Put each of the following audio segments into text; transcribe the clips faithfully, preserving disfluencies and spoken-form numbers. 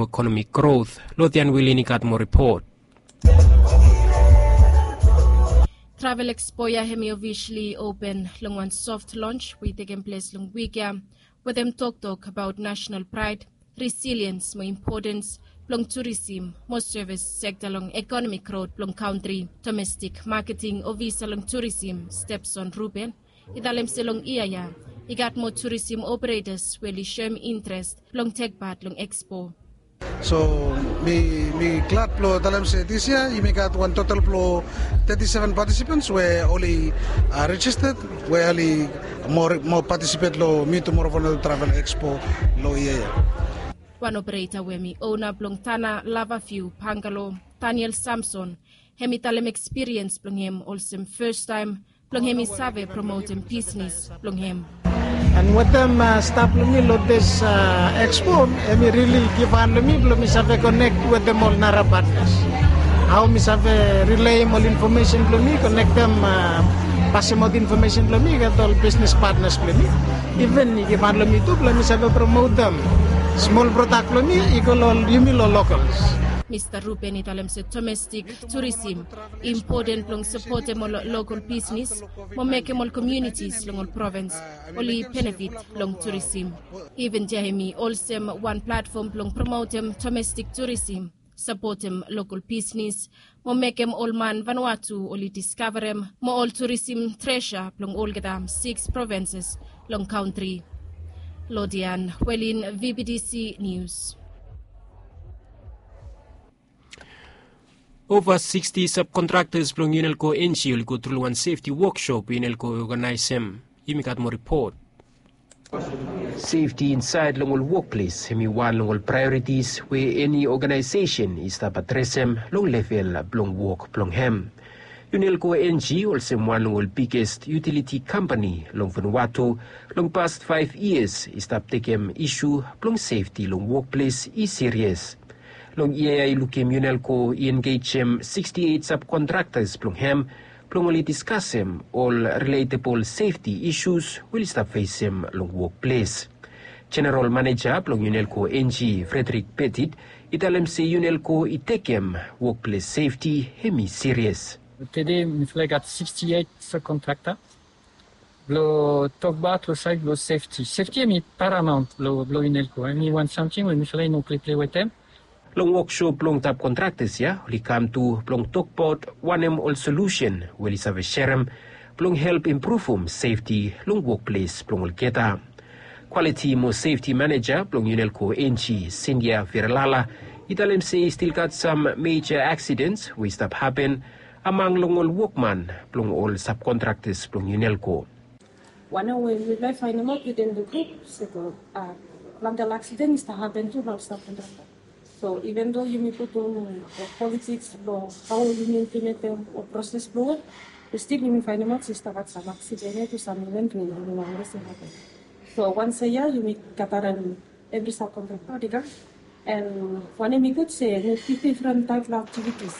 Economic growth. Lodian Wilin i gat moa ripot. Travel Expo ya hemi officially open long wan soft launch we i tekem ples long wik ya, wetem toktok abaot national pride, resilience mo importance blong tourism mo service sekta long economic growth blong kantri. Domestic marketing ofisa long tourism, Stepson Ruben, i talem se long yia ya i gat moa tourism operators we oli shoem interest blong tek pat long Expo. So mi mi glad blong talem se this year yumi gat wan total blong thirty-seven participants we oli registered, we oli moa participate long Mi Tumorova Vanuatu Travel Expo long yia ya. Wan operator we hemi ona blong Tana Lava View Bungalow, Daniel Samson, hemi talem ekspiriens blong hem olsem fastaem blong hemi save promotem bisnis blong hem. And wetem stap long mi long this Expo, hemi rili givhan long mi blong mi save konek wetem ol nara partners. Hao mi save rileim ol infomesen blong mi, konektem, pasemaot infomesen blong mi get ol bisnis partners blong mi. Iven i givhan long mi tu blong mi save promotem smol prodak blong mi i go long yumi long locals. Mista Ruben i talem se domestik tourism i impoten blong sapotem ol lokol bisnis mo mekem ol komunitis long ol provins oli benefit long tourism. Iven ya hemi olsem wan platfom blong promotem domestik tourism, sapotem lokol bisnis mo mekem ol man Vanuatu oli diskavarem mo ol tourism treasure blong olgeta six provinces long kantri. Lodian Welin, V B T C News. Ova sixty subcontractors blong Unelco Engi oli go tru long wan safety workshop Unelco i oganaesem. Yumi gat moa ripot. Safety insaed long ol wokples hemi wan long ol priorities we eni oganaesesen i stap adresem long level blong wok blong hem. Unelco Engi olsem wan long ol biggest utility kampani long Vanuatu long past five years i stap tekem isu blong safety long wokples i sirias. Long yia ya i lukim Unelco i engejem sixty-eight subcontractors blong hem blong oli diskasem ol relatable safety issues we oli stap fesem long wokples. Jeneral Maneja blong Unelco Engi, Frederick Petit, i talem se Unelco i tekem wokples safety hemi sirias. Tede mifala i gat sixty-eight subcontractor. Blong tokbaot long saed blong safety. Safety hemi paramount blong Unelco, hemi wan samting we mifala i no pleplei wetem. Long woksop blong subcontractors ya oli kam tu blong tokbaot wanem ol solusen we oli save serem blong help impruvum safety long wokples blong olgeta. Quality mo Safety Maneja blong Unelco Engi, Cynthia Ferelala, i talem se i stil gat sam meja aksidens we i stap hapen among long ol wokman blong ol subcontractors blong Unelco. Wanem we mifala i faenemaot within the group se plante ol aksiden i stap hapen tu long ol subcontractor. So even though yumi putum ol politiks blong hao yumi implementem ol proses blong wok, be stil yumi faenemaot se i stap gat sam aksiden ya tu sam iven we yumi no wantem se i hapen. So once a year yumi gatarem evri subcontractor oli kam. And wanem i gud se i gat difren taep blong aktivitis.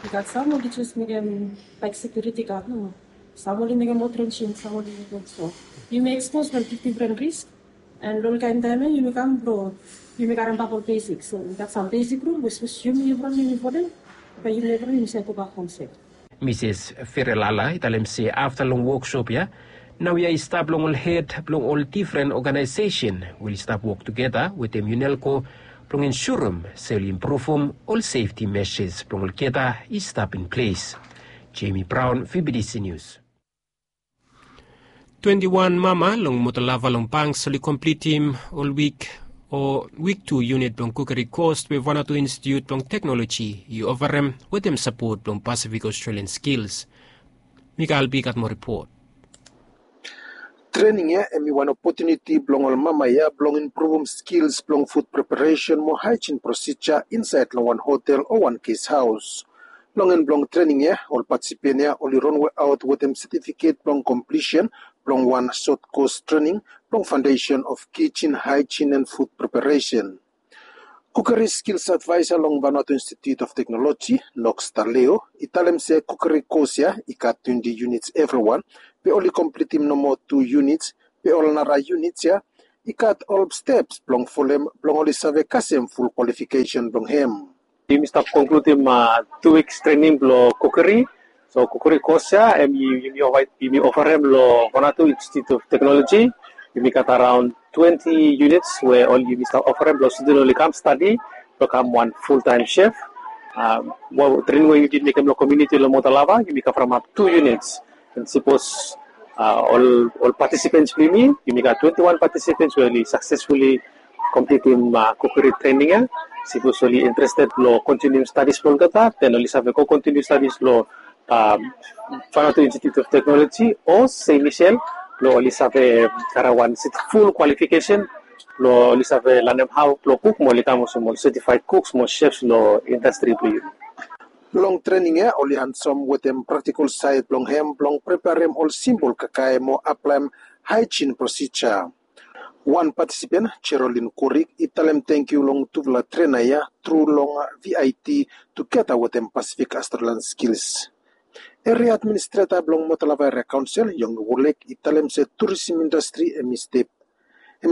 I gat sam oli jes mekem laek sekiuriti gad nomo. Sam oli mekem ol trenjing, sam oli mekem so. Yumi ekspos long difdifren risk. And long olkaen taem ya yumi kam blong yumi karembak ol besik. So i gat sam besik rul we sapos yumi evriwan yumi folem, bae yumi evriwan yumi save gobak hom sef. Misis Ferelala i talem se afta long woksop ya, naoia i stap long ol hed blong ol difren oganaesesen we oli stap wok tugeta wetem Unelco blong ensurem se oli impruvum ol sefti mejas blong olgeta i stap in ples. Jamie Brown, V B T C News. Twenti wan mama long Motolava long Banks oli komplitim ol wik o wik tu unit blong kukeri kos we Vanuatu Institute blong Teknoloji i ofarem wetem sapot blong Pacific Australian Skills. Mikael Bi gat moa ripot. Trening ya hemi wan opotuniti blong ol mama ya blong impruvum skils blong fud preparesen mo haejin prosija insaed long wan hotel o wan ges haos. Long en blong trening ya ol patisipen ya oli ronwe aot wetem setifiket blong komplisen blong wan sot kos trening blong faondesen of kijin haejin and fud preparesen. Kukeri skils advaesa long Vanuatu Institute of Technology, Knox Taleo, i talem se kukeri kos ya i gat twenti units evriwan, be oli komplitim nomo tu units, be ol nara units ya i gat ol steps blong folem blong oli save kasem ful kwalifikesen blong hem. Yumi stap konkludim tu wiks trening blong kukeri. So kukeri kos ya em yumi ofarem long Vanuatu Institute of Technology. Yumi gat araon twenti units we ol yumi stap ofarem blong student oli kam stadi blong kam wan fultaem chef. Trening we yumi bin mekem long komuniti long Motalava, yumi kavremap tu units. And sipos ol patisipens blong yumi, yumi gat twenti wan patisipens we oli saksesfuli komplitim kukeri trening ya. Sipos oli interested long kontinium stadis blong olgeta, den oli save go kontinium stadis long Vanuatu Institute of Technology o Saint Michel blong oli save karem wan ful kwalifikesen blong oli save lanem hao blong kuk mo oli kam olsem ol setifaed kuks mo chefs long indastri blong yumi. Long trening ya oli hansom wetem praktikol saed blong hem blong preparem ol simbol kakae mo aplaem haejin prosija. Wan patisipen, Jerolin Kurik, i talem tangkiu long tufala trena ya tru long V I T tugeta wetem Pasifik Australian Skills. Eria administreta blong Motalava Eria Kaonsel, Yong Wulek, i talem se turisim indastri hem i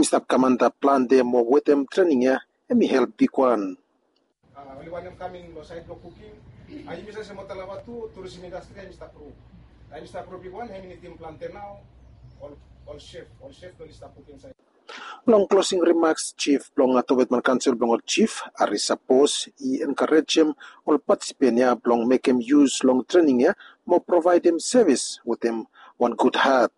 stap kam antap plante mo wetem trening ya hem i help bigwan. Oli wantem kam in long saed blong kuking. Yumi save se Motalava tu turisim indastri hem i stap gro. Hem i stap gro bigwan, hem i nidim plante nao. Ol chef, ol chef oli stap kuking saed. Long klosing rimaks, jif blong Towetman Kaonsel blong ol jif, Ari Sapos, i enkarejem ol patisipen ya blong mekem yus long trening ya mo provaedem sevis wetem wan gud hat.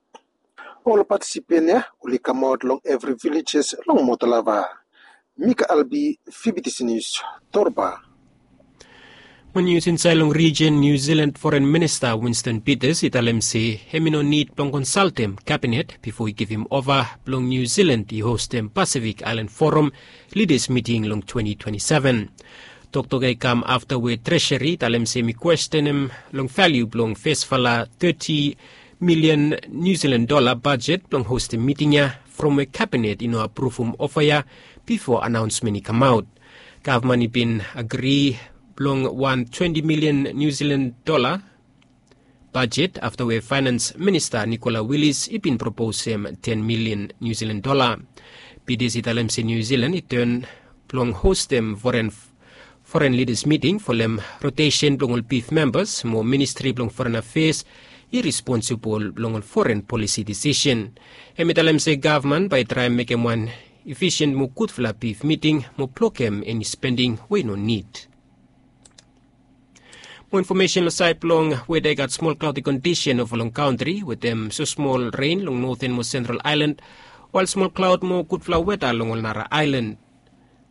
Ol patisipen ya oli kamaot long evri vilejes long Motalava. Mika Albi, Fibitisi Nius, Torba. Mo nius insaed long rijin, Niu Silan Foren Minista Winston Peters i talem se hem i no nid blong konsaltem kabinet bifo i givim ova blong Niu Silan i hostem Pasifik Aelan Foram Lidas Miting long twenti twenti seven. Toktok ya i kam afta we Treseri i talem se hem i kwestenem long valiu blong fesfala teti milian Niu Silan dola bajet blong hostem miting ya from we kabinet i no apruvum ofa ya bifo anaonsmen i kamaot. Gavman i bin agri blong wan twenti milian Niu Silan dola bajet afta we faenans minista Nikola Wilis i bin proposem ten milian Niu Silan dola. Peters i talem se Niu Silan i ten blong hostem foren foren lidas miting folem rotesen blong ol bif membas mo ministri blong foren afeas i responsibol long ol foren polisi disisen. Hem i talem se gavman bae i traem mekem wan efisien mo gudfala bif miting mo blokem eni spending we i no nid. Mo infomesen long saed blong weda i gat smol klaodi kondisen ova long kantri wetem smosmol ren long noten mo sentral aelan, wael smol klaod mo gudfala weda long ol nara aelan.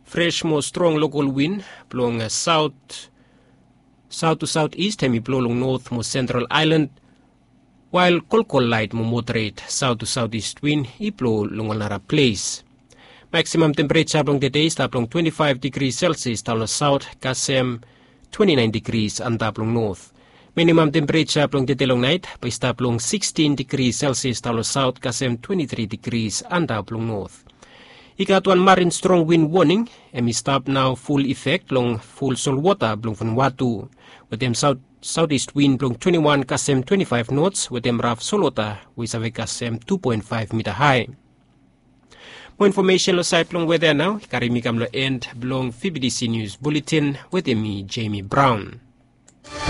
Fres mo strong lokol win blong saot saot tu saot ist hem i blo long not mo sentral aelan, wael kolkol laet mo moderet saot tu saot ist win i blo long ol nara ples. Maksimam tempereja blong tede i stap long twenti faef digri selsias daon long saot kasem twenti naen digris antap long not. Minimam tempereja blong tede long naet bae i stap long sikstin digri selsias daon long saot kasem twenti tri digris antap long not. I gat wan marin strong win woning hem i stap nao ful ifek long ful solwota blong Vanuatu wetem saot saot ist win blong twenti wan kasem twenti faef nots wetem raf solwota we i save kasem tu poen faef mita hae. Mo infomesen long saed blong weda nao i karim mi kam long en blong V B T C Nius Buletin wetem mi, Jemi Braon.